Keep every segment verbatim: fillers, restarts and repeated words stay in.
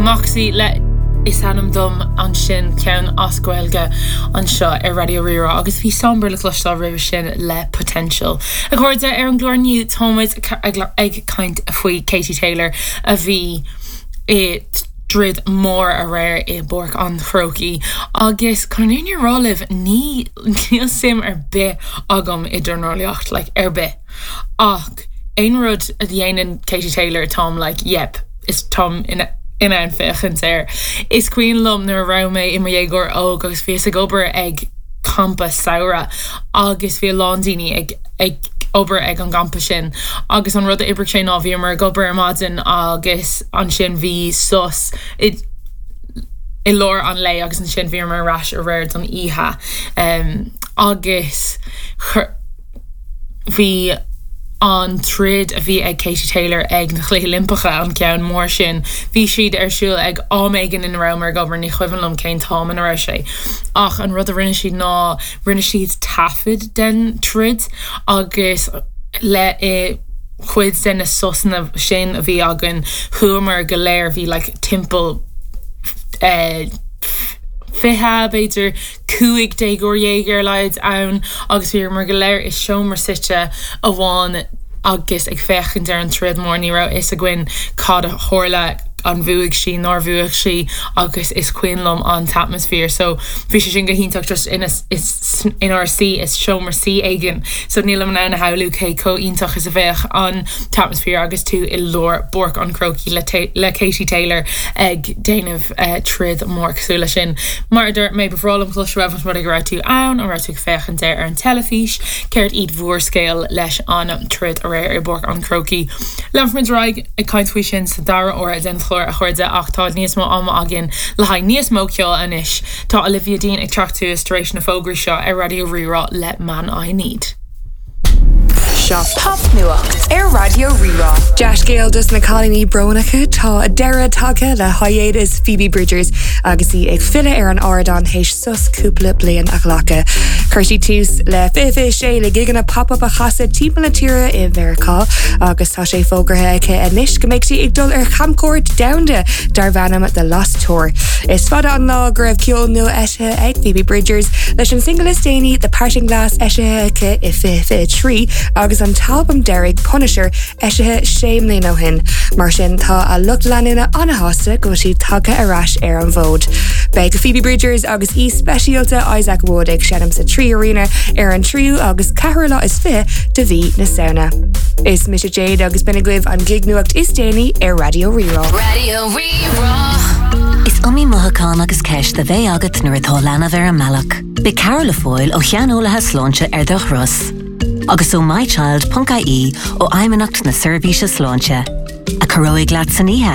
Moxie le is ainm dom ansin ceann as Gaeilge anseo ar Raidió Rí-Rá agus bhí Somber le cloisteáil roimhe sin le Potential. A chairde ar an gclár inniu táimid ag caint faoi Katie Taylor a bhí i dtroid mór aréir i bPáirc an Chrócaigh agus chun an fhírinne a rá libh ní níl suim ar bith agam i dornálaíocht like, ar bith. Ach aon rud a dhéanann Katie Taylor táim like, yep, is táim in in ann féachaint air. Is cuimhin liom nuair a raibh mé i mo dhéagóir óg agus bhíos ag obair ag campa samhraidh agus bhí a lán daoine ag ag obair ag an gcampa sin agus an rud a oibrigh sé ná bhíomar ag obair ar maidin agus ansin bhí sos i i lár an lae agus ansin bhíomar ar ais aréir don oíche um, agus bhí an troid a bhí ag Katie Taylor ag na Cluichí Oilimpeacha an ceann mór sin bhí siad ar siúl ag am éigin ina rabhamar ag obair ní cuimhin liom cén t-am ina raibh sé ach an rud a rinne siad ná rinne siad taifead den troid agus le i chuid de na sosanna sin a bhí againn chuamar go léir bhí like, timpeall eh, fiche b'fhéidir cúig déagóir dhéag ar a laghad ann agus bhíomar go léir i seomra suite amháin agus ag féachaint ar an troid mór ní raibh fhios againn cad a tharla an bhuaigh sí nár bhuaigh sí agus is cuimhin liom an t-atmaisféar so bhí sé sin go hiontach just ina inár suí i seomra suí éigin so nílim in ann a shamhlú cé chomh iontach is a bheadh an t-atmaisféar agus tú i lár Pháirc an Chrócaigh le, le Katie Taylor ag déanamh uh, troid mór cosúil le sin. Mar a dúirt mé ba bhreá liom cloisteáil uait an raibh tú ann an raibh tú ag féachaint ar an teilifís, céard iad bhur scéal leis an troid aréir i bPáirc an Chrócaigh. Leanfaimid ar aghaidh ag caint faoi sin sa dara huair den chlár a chairde ach tá níos mó ama againn le haghaidh níos mó ceoil anois Tá Olivia Dean ag teacht suas tar éis na fógraí seo ar Raidió Rí-Rá le Man I Need. Seo popnuacht ar Raidió Rí-Rá. Dea-scéal dos na cailíní brónacha tá deireadh tagtha le hiatas Phoebe Bridgers agus í ag filleadh ar an ardán théis sos cúpla bliain a ghlacadh. Chuir sí tús le fiche sé le gigeanna pop-up a chasadh timpeall na tíre i Meiriceá agus tá sé fógartha aici anois go mbeidh sí ag dul ar chamchuairt domhanda darb ainm The Lost Tour. Is fada an lá go raibh ceol nua eisithe ag Phoebe Bridgers leis an single is déanaí The Parting Glass eisithe aici i fiche trí agus an t-albam deiridh Punisher eisithe sé mbliana ó shin. Mar sin tá a lucht leanúna an-sásta go bhfuil sí tagtha ar ais ar an bhfód. Beidh Phoebe Bridgers agus aoi speisialta Isaac Wood ag seinm sa Three Arena ar an tríú agus ceathrú lá is fiche de mhí na Samhna. Is mise Jade agus b'in agaibh an gig nuacht is déanaí ar Raidió Rí-Rá. Raidió Rí-Rá. Is iomaí mothúchán agus ceist a bheidh agat nuair atá leanbh ar an mbealach. Beidh cabhair le fáil ó shaineolaithe sláinte ar do thuras. Agus ó mychild.ie ó Fheidhmeannacht na Seirbhíse Sláinte, a chabhróidh leat san oíche.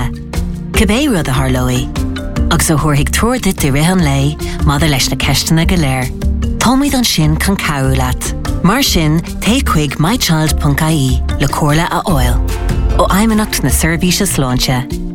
Cibé rud a tharlóidh, agus a thabharfaidh treoir duit i rith an lae maidir leis na ceisteanna go léir. Táimid ansin chun cabhrú leat. Mar sin téigh chuig mychild.ie le comhairle a fháil. Ó Fheidhmeannacht na Seirbhíse Sláinte.